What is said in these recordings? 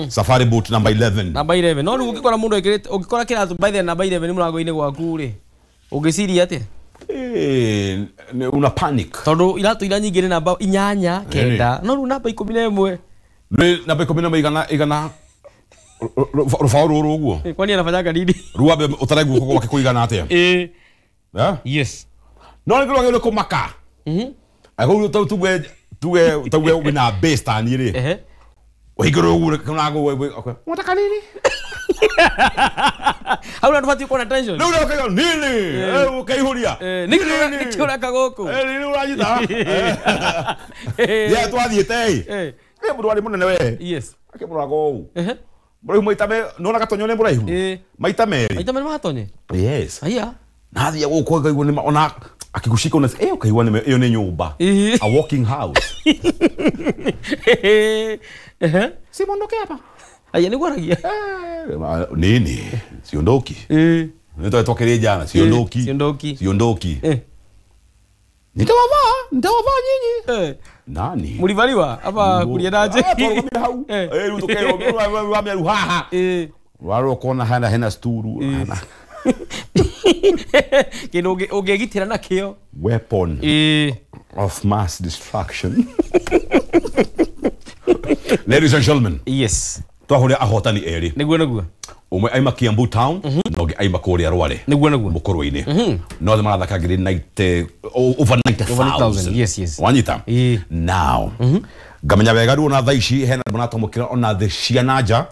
Safari boot number 11. Namba 11. No rĩu ũngĩkora mũndũ ekĩrĩte, ũngĩkora kĩratũ by the namba 11 mũrango-inĩ gwaku rĩ, ũngĩciria atĩa? Una panic. Tondũ iratũ iria nyingĩ nĩ namba 8, 9, no rĩu namba 11. Nĩ namba 11 igana igana rũbaũ rũrũ ũguo. Kwani anafanyaga nini? Ruambe ũtare guoko gwake kũigana atĩa? Eh? Yes. No nĩ kĩrĩa kũmaka. Agũrũ tau tuge tuge tuge wĩna base ta niĩ rĩ. Ũhingũrwo ũguo kũnago wewe. Unataka nini? Hau na ndũbatiĩ kuona tension. Rĩu ũkaiga nini? Ũkaihuria. Nĩkĩ ũreka gũkũ? Nini ũranyita? Yeah, twathiĩte ĩ. Nĩ mũndũ warĩ mũnene we. Yes. Akĩmũraga ũũ. Mũraihu maita me nona gatonyo nĩ mũraihu. Maita merĩ. Maita merĩ matonye. Yes. Aya. Na athiĩ gũkũ akaigua nĩ ona akigushika una ukaigua nĩ ĩyo nĩ nyũmba. A walking house. Si mondoke hapa. Aya nĩguo aragia. Nini? Siondoki. Nĩ twakĩrĩ jana siondoki. Siondoki. Siondoki. Nitawavaa, nitawavaa nyinyi. Nani? Mulivaliwa hapa kuliendaje? Twarũgamire hau. Rĩu tũkerwo rũgamia haha. Rwarwo kona hena hena sturu. Kĩndũ ũngĩgitĩra nakĩo. Weapon of mass destruction. Ladies and gentlemen. Yes. Twahũrĩa ahotani erĩ. Nĩguo nĩguo. Ũmwe aima Kiambu town na ũngĩ aima kũrĩa Rware. Nĩguo nĩguo. Mũkũrwe-inĩ. No othe marathaka ngiri 90 over 90,000. Yes, yes. Wanyita? Now. Ngamenya wega rĩu ona thaa ici hena andũ maratamũkĩra ona thĩ cia na nja.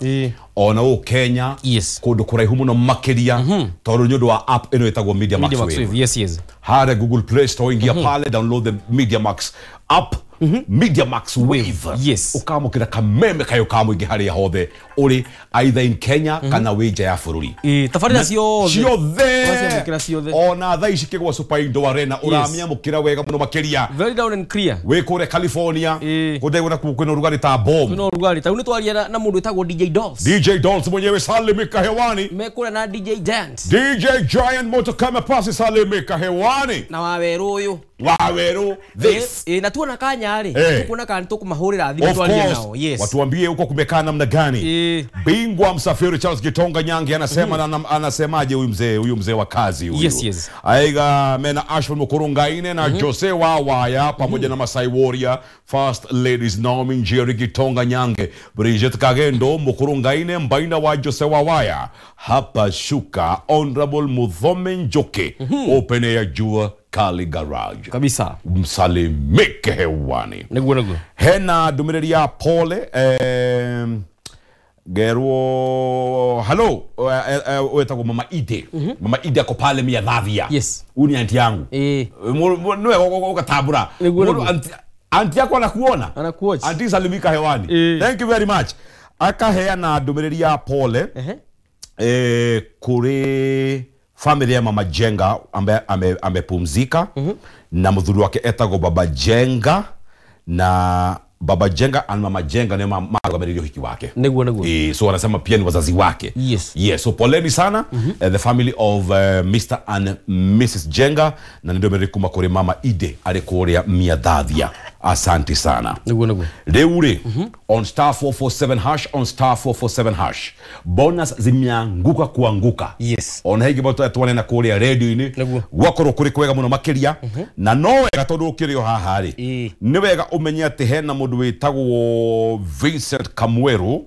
Ona ũũ Kenya. Yes. Kũndũ kũraihu mũno makĩria. Tondũ nĩ ũndũ wa app ĩno ĩtagwo Media Max Wave. Yes, yes. Harĩa Google Play Store ingia pale, download the Media Max app. Media Max Wave. Yes. Ukamukira kameme kayo ka mũingĩ harĩa hothe ũrĩ either in Kenya kana wĩ nja ya bũrũri. Tabarĩra ciothe. Ciothe. Ciothe. Ona thaa ici kĩgwa Super Indoor Arena ũramĩamũkĩra wega mũno makĩria. Very down and clear. Wĩ kũrĩa California. Kũndũ na kwĩna ũrugarĩ ta bomb. Kwĩna ũrugarĩ. Ta rĩu nĩtwaria na mũndũ wĩtagwo DJ Dolls. DJ Dolls mwenyewe salimika hewani. Me kũrĩa na DJ Giant. DJ Giant moto kama pasi salimika hewani. Na wawerũ ũyũ. Wawerũ this. Na tuona kanya rĩ. Tukuona kana tũkũmahũrĩra thimũ twarie nao. Yes. Watuambie huko kumekaa namna gani. Bingwa msafiri Charles Gitonga Nyange anasema anasemaje huyu mzee wa kazi huyu. Yes, yes. Aiga mena Ashford Mukurungaine na Jose Wawaya pamoja na Masai Warrior, First Ladies Naomi Njeri Gitonga Nyange, Bridget Kagendo Mukurungaine Mbaina wa Jose Wawaya. Hapa shuka Honorable Muthome Njoki. Open Air Jua Kali Garage. Kabisa. Msalimike hewani. Nĩguo nĩguo. Hena ndũmĩrĩri ya pole gerwo hello wetagwo Mama Ide. Mama Ide ako pale Miathathia. Yes. Huyu ni aunti yangu. Niwe ugatambura. Aunti yako anakuona. Anakuona. Aunti salimika hewani. Thank you very much. Akaheana ndũmĩrĩri ya pole kuri familia ya Mama Jenga ambaye amepumzika na mudhuri wake etagwo Baba Jenga na Baba Jenga and Mama Jenga ni marugamĩrĩri ũhiki wake. Nĩguo nĩguo. So wanasema pia ni wazazi wake. Yes. Yes, so poleni sana the family of Mr and Mrs Jenga na nĩ ndũmĩrĩri kuma kũrĩ Mama Ide arĩ kũrĩa Miathathia. Asante sana. Nĩguo nĩguo. Rĩu rĩ on star 447 hash on star 447 hash bonus zimeanguka kuanguka. Yes. Ona higi boto twanena kũrĩa radio-inĩ gwakorwo kũrĩ kwega mũno makĩria na no wega tondũ ũkĩrĩ o haha rĩ nĩ wega ũmenye atĩ hena mũndũ wĩtagwo Vincent Kamweru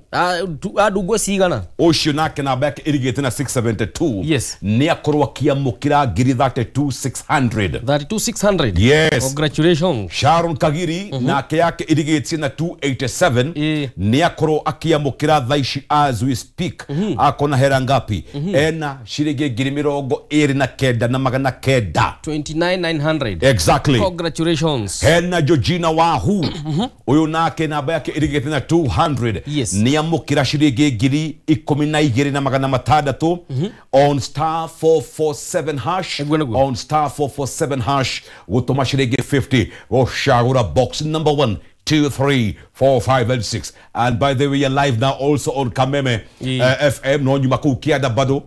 andungo cigana ũcio nake namba yake ĩrigĩte na 672. Yes. Nĩ akorwo akĩamũkĩra ngiri 32,600. 32,600. Yes. Congratulations. Sharon Kagiri nake yake ĩrigĩtie na 287 nĩ akorwo akĩamũkĩra thaa ici as we speak. Akona hera ngapi? Ena ciringi ngiri 29,900. 29,900. Exactly. Congratulations. Hena Georgina Wahu uyu nake namba yake ĩrigĩte na 200. Yes. Nĩ amũkĩra ciringi ngiri 12,600 on star 447 hash on star 447 hash gũtũma ciringi 50 gũcagũra box number 1 2 3 4 5 and 6. And by the way, we are live now also on Kameme FM no nyuma kuu kianda bado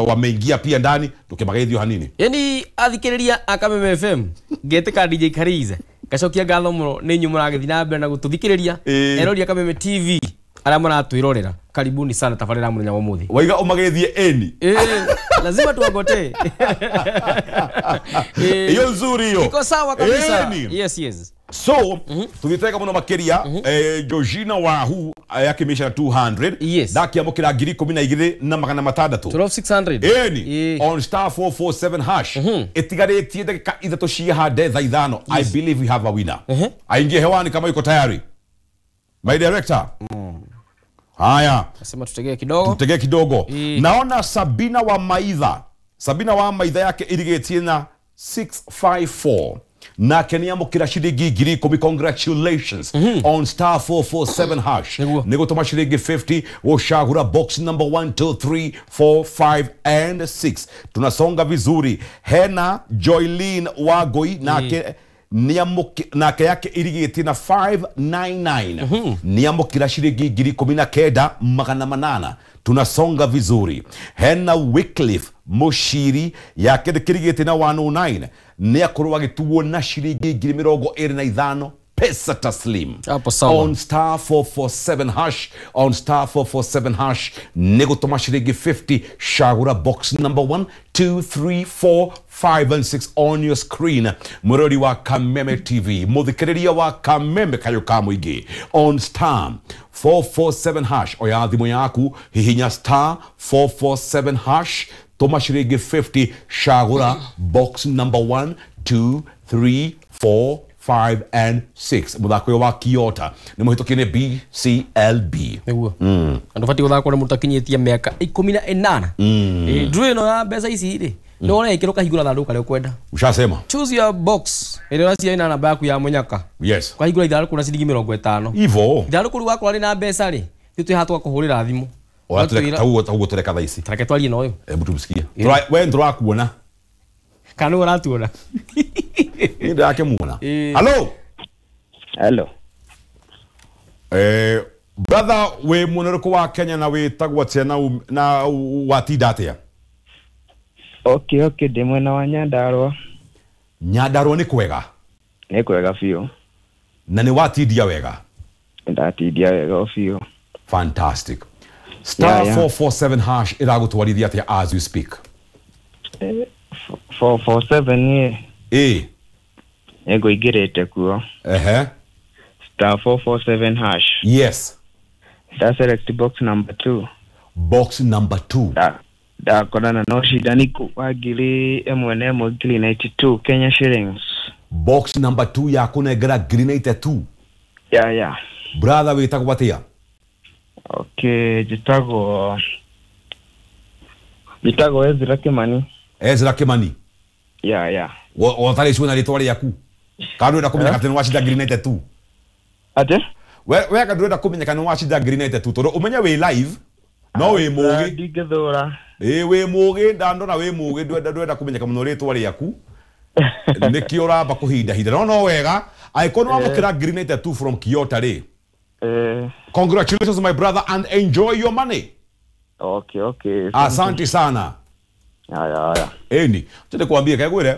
wameingia pia ndani tukimagaithio hanini. Yani athikiriria a Kameme FM ngetika DJ Karize Ngacokia ngatho mũno nĩ inyuĩ mũragĩthiĩ na mbere na gũtũthikĩrĩria. Erori a Kameme TV arĩa maratwĩrorera, karibuni sana tabarĩra mũthenya wa ũmũthĩ. Waiga ũmageithie eni. Lazima tuwagote. Hiyo nzuri hiyo. Iko sawa kabisa. Eni. Yes, yes. So, tutitega muno makiria Georgina Wahu yakimishana 200. Yes. Ndakiamukira 12,600. 12,600. Eni on star 447 hash. Itigarĩtie ndagĩka 3 ciahande thaa 5. I believe we have a winner. Aingie hewani kama yuko tayari. My director. Haya. Nasema tutegee kidogo. Tutegee kidogo. Naona Sabina wa Maitha. Sabina wa Maitha yake irigĩtie na 654. Nake nĩamũkĩra ciringi 10,000. Congratulations on star 447 hash. Nĩ gũtũma ciringi 50 gũcagũra box number 1 2 3 4 5 and 6. Tunasonga vizuri. Hena Joylene Wagoi nake nake yake irigĩtie na 599. Nĩamũkĩra ciringi 19,800. Tunasonga vizuri. Hena Wycliffe Mushiri yake kirigĩtie na 109. Nĩakorwo agĩtuo na ciringi 25,000 pesa taslim. Hapo sawa. On star 447 hash, on star 447 hash nĩ gũtũma ciringi 50 cagũra box number 1 2 3 4 5 and 6 on your screen. Mũrori wa Kameme TV, mũthikĩrĩria wa Kameme kayũ ka mũingĩ, on star 447 hash. Oya thimũ yaku, hihinya star 447 hash, tũma ciringi 50 cagũra box number 1 2 3 4 5 and 6. Mũthako ũyũ wa Kiota nĩ mũhĩtũkie nĩ BCLB. Nĩguo. Andũ batiĩ gũthakwo nĩ mũndũ ũtakinyĩtie mĩaka 18. Ndũĩ ĩno ya mbeca ici rĩ, nĩ ũrekĩra ũkahingũra thandũkũ karĩa ũkwenda. Ushasema. Choose your box. Ĩrĩa ũraciria ĩna namba yaku ya mũnyaka. Yes. Ũkahingũra ithandũkũ na ciringi 50. Ivo. Ithandũkũ rĩu wakorwo rĩna mbeca rĩ, ithuĩ twĩ haha twakũhũrĩra thimũ. Tauguo tũreka thaa ici. Tareke twarie na ũyũ. Hebu tumsikie. We ndũrakuona. Kana nĩwe ũratuona. Nĩ ndĩrakĩmuona. Hello. Hello. Brother, wĩ mwena ũrĩkũ wa Kenya na wĩtagwo atĩa na watinda atĩa? Okay, okay, ndĩ mwena wa Nyandarua. Nyandarua nĩ kwega? Nĩ kwega biũ. Na nĩ watindia wega? Ndatindia wega biũ. Fantastic. Star 447 hash ĩragũtwarithia atĩa as we speak? 447 ĩ. Nĩngũingĩrĩte kuo. Ehe. Star 447 hash. Yes. Da select box number 2. Box number 2. Ndakorana na ũcindani wa 1,192 Kenya shillings. Box number 2 ya kũnengera 92. Yeah, yeah. Brother, wĩtagwo atĩa? Okay, njĩtagwo Ezra Kimani. Ezra Kimani. Yeah, yeah. Watarĩ cuo na rĩtwa rĩaku. Kana ndũrenda kũmenyeka atĩ nĩ wacinda 92? Atĩ? We ka ndũrenda kũmenyeka nĩ wacinda 92 tondũ ũmenye wĩ live no wĩ mũgĩ. Ndingĩthũra. Ĩ wĩ mũgĩ, ndandora wĩ mũgĩ, ndũrenda kũmenyeka mũno rĩtwa rĩaku. Nĩkĩo ũramba kũhindahinda. No wega, angĩkorwo nĩ wamũkĩra 92 from Kiota rĩ. Congratulations my brother and enjoy your money. Okay, okay. Asante sana. Haya, haya. Eni, tende kuambia kegwire.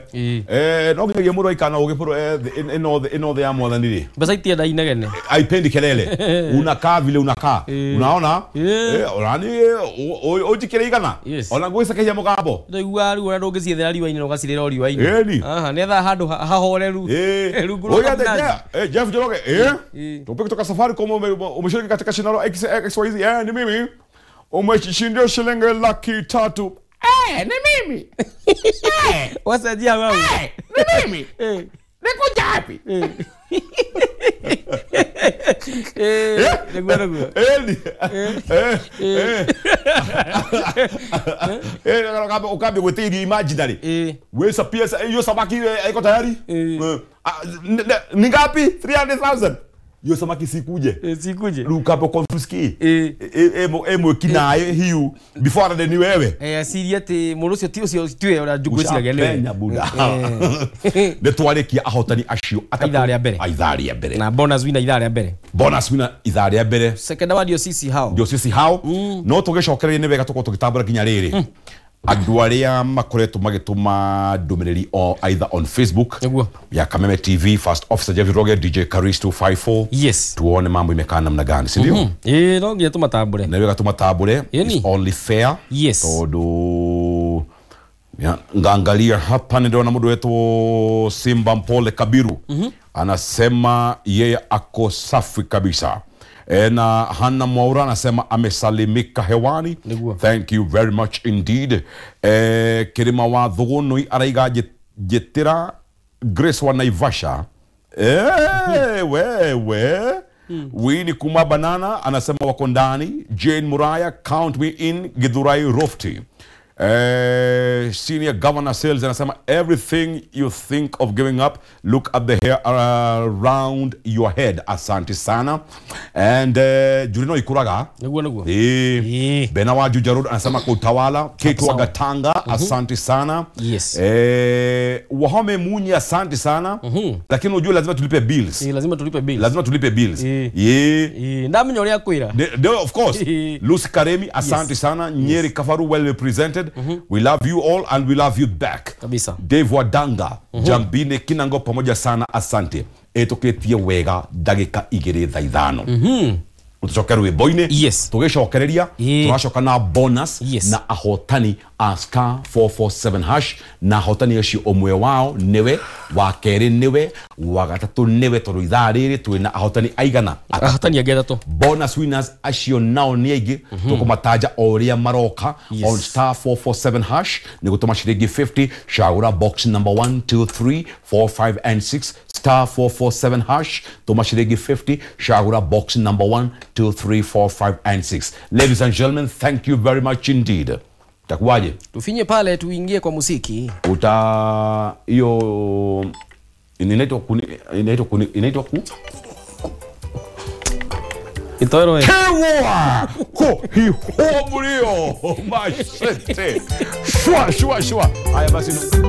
No nginyagia mũndũ aikana ũgĩ bũrũ ĩno thĩ ya mwathani rĩ. Mbeca itienda inegene. Aipendi kelele. Unakaa vile unakaa. Unaona? Urani ũnjikĩre igana. Ona ngwĩcakĩria mũgambo. Ndaigua rĩu ona ndũngĩciethera riũa-inĩ na ũgacirĩra o riũa-inĩ. Eni. Aha, nĩetha handũ hahoreru. Rungu rwa Oya, Jeff Njoroge, Tupe kutoka Safaricom umeshiriki katika shindano XYZ. Ni mimi. Umeshindia shilingi 300,000. Ni mimi. Wasajia wewe. Ni mimi. Nikuja wapi? Niguo. Ukambi gwĩtĩirio imaginary. Wĩca pesa hiyo samaki iko tayari? Ni ngapi? 300,000. Hiyo samaki sikuje. Sikuje. Rĩu confuse ki. Mwĩkinaĩ hiu before ni wewe. Aciria atĩ mũndũ ũcio ti ũcio tiwe ũrĩa ngwĩciragia nĩwe. Ushapenya buda. Nĩ twarĩkia ahotani acio atatũ. Ithaa rĩa mbere. Ithaa rĩa mbere. Na bonus winner ithaa rĩa mbere. Bonus winner ithaa rĩa mbere. Second award ndio sisi hao. Ndio sisi hao. No tũgĩcokererie nĩ wega tũkorwo tũgĩtambũra nginya rĩrĩ. Andũ arĩa makoretwo magĩtũma ndũmĩrĩri o either on Facebook Nĩguo. ya Kameme TV, First Officer Jeff Roge, DJ Karis 254. Yes. Tuone mambo imekaa namna gani, si ndio? Ĩĩ, no nginya tũmatambũre. Na wega tũmatambũre. Yeni. It's only fair. Yes. Tondu ya, ngaangalia hapa niliona mtu wetu Simba Mpole Kabiru anasema yeye ako safi kabisa. Na Hana Mwaura anasema amesalimika hewani. Niguo. Thank you very much indeed. Kirima wa Thugunui araiga njitira Grace wa Naivasha. Wewe Winnie Kuma Banana anasema wako ndani. Jane Muraya, count me in Githurai Rofti. Senior Governor Sales anasema everything you think of giving up, look at the hair around your head. Asante sana. And Jurino Ikuraga. Niguo niguo. Bena wa Juja Road anasema kwa utawala. Kate wa Gatanga, asante sana. Yes. Wahome Munyi, asante sana. Lakini unajua lazima tulipe bills. Lazima tulipe bills. Lazima tulipe bills. Ndamenya uria kwira. Of course. Lucy Karemi, asante sana. Nyeri Kafaru, well represented. We love you all and we love you back. Kabisa. Dave Wadanga, Jambine Kinango pamoja sana, asante. Etuketie wega ndagika 2 thaa 5. Utucoke rwimbo-inĩ. Yes. Tũgĩcokereria tũracoka na bonus Yes. na ahotani a star 447 hash, na ahotani acio ũmwe wao nĩwe wa kerĩ, nĩwe wa gatatũ, nĩwe tondũ ithaa rĩrĩ twĩna ahotani aigana? Ahotani angĩ atatũ. Bonus winners acio nao nĩ aingĩ, tũkũmataja o ũrĩa maroka. Yes. On star 447 hash nĩ gũtũma ciringi 50, cagũra box number 1 2 3 4 5 and 6. Star 447 hash, tũma ciringi 50, cagũra box number 1 2 3 4 5 and 6. Ladies and gentlemen, thank you very much indeed. Takuwaje? Tufinye pale tuingie kwa muziki. Uta hiyo inaitwa inaitwa ku Itoero. Kewa ko hi ho mrio mashete shwa shwa shwa. Haya basi.